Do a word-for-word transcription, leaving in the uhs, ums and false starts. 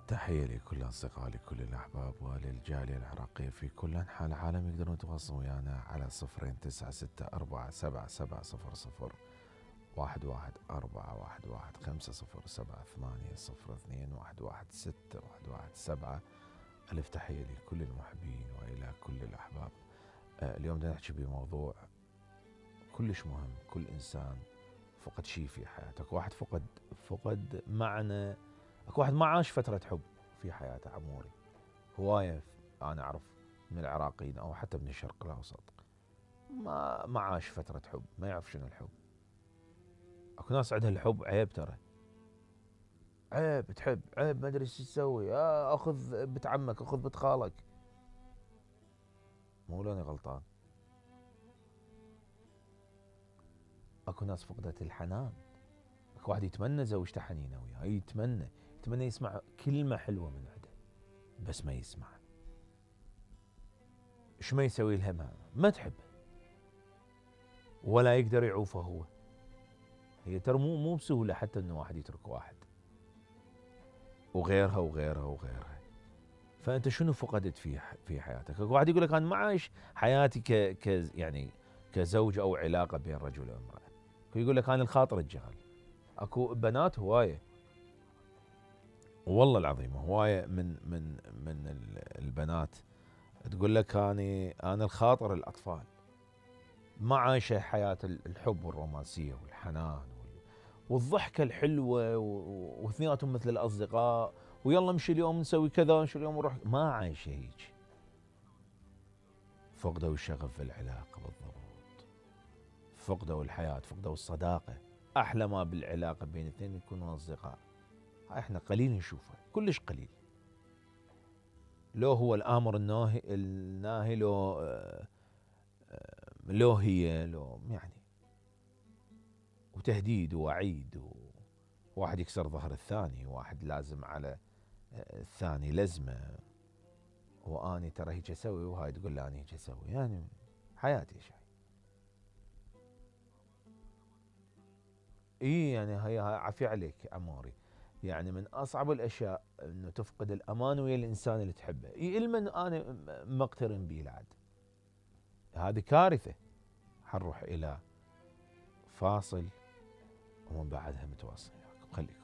تحية لكل أصدقائي لكل الأحباب وللجالية العراقية في كل أنحاء العالم. يقدرون يتواصلون ويانا على صفرين تسعة ستة أربعة سبعة سبعة صفر صفر واحد واحد أربعة واحد واحد خمسة صفر سبعة ثمانية صفر اثنين واحد واحد ستة واحد واحد سبعة. ألف تحية لكل المحبين وإلى كل الأحباب. آه اليوم بدنا نحكي بموضوع كلش مهم. كل إنسان فقد شيء في حياته. أكو واحد فقد فقد معنى. أكو واحد ما عاش فترة حب في حياته عموري. هواية أنا أعرف من العراقيين أو حتى من الشرق الأوسط ما ما عاش فترة حب، ما يعرف شنو الحب. أكو ناس عندها الحب عيب، ترى عيب تحب، عيب ما أدري شو تسوي، آه أخذ بنت عمك أخذ بنت خالك. مو لاني غلطان. أكو ناس فقدت الحنان. أكو واحد يتمنى زوجته حنينة وياه، يتمنى يتمنى يسمع كلمة حلوة من عنده بس ما يسمع. ايش ما يسوي لها؟ ما, ما تحبه ولا يقدر يعوفه هو. هي ترى مو مو بسهولة حتى انه واحد يترك واحد، وغيرها وغيرها وغيرها. فانت شنو فقدت في في حياتك؟ واحد يقول لك انا ما عايش حياتي ك ك يعني كزوج او علاقة بين رجل وامرأة. يقول لك انا الخاطر الجغل. اكو بنات هواية والله العظيم، هواية من من من البنات تقول لك انا انا الخاطر الاطفال، ما عايشه حياه الحب والرومانسيه والحنان والضحكه الحلوه واثنيناتهم مثل الاصدقاء، ويلا امشي اليوم نسوي كذا، امشي اليوم نروح. ما عايشه هيك. فقدوا الشغف في العلاقه بالضبط، فقدوا الحياه، فقدوا الصداقه. احلى ما بالعلاقه بين اثنين يكونوا اصدقاء. هاي احنا قليل نشوفها، كلش قليل. لو هو الامر الناهي الناهي لو لو هي لو يعني وتهديد ووعيد، وواحد يكسر ظهر الثاني، واحد لازم على الثاني لزمه، واني ترى هيك اسوي وهاي تقول لا انا هيك اسوي. يعني حياتي شيء. اي يعني هي عافية عليك عموري. يعني من اصعب الاشياء انه تفقد الامان ويا الانسان اللي تحبه، علما انا مقترن به العد. هذه كارثه. حنروح الى فاصل ومن بعدها متواصل وياكم. خليكم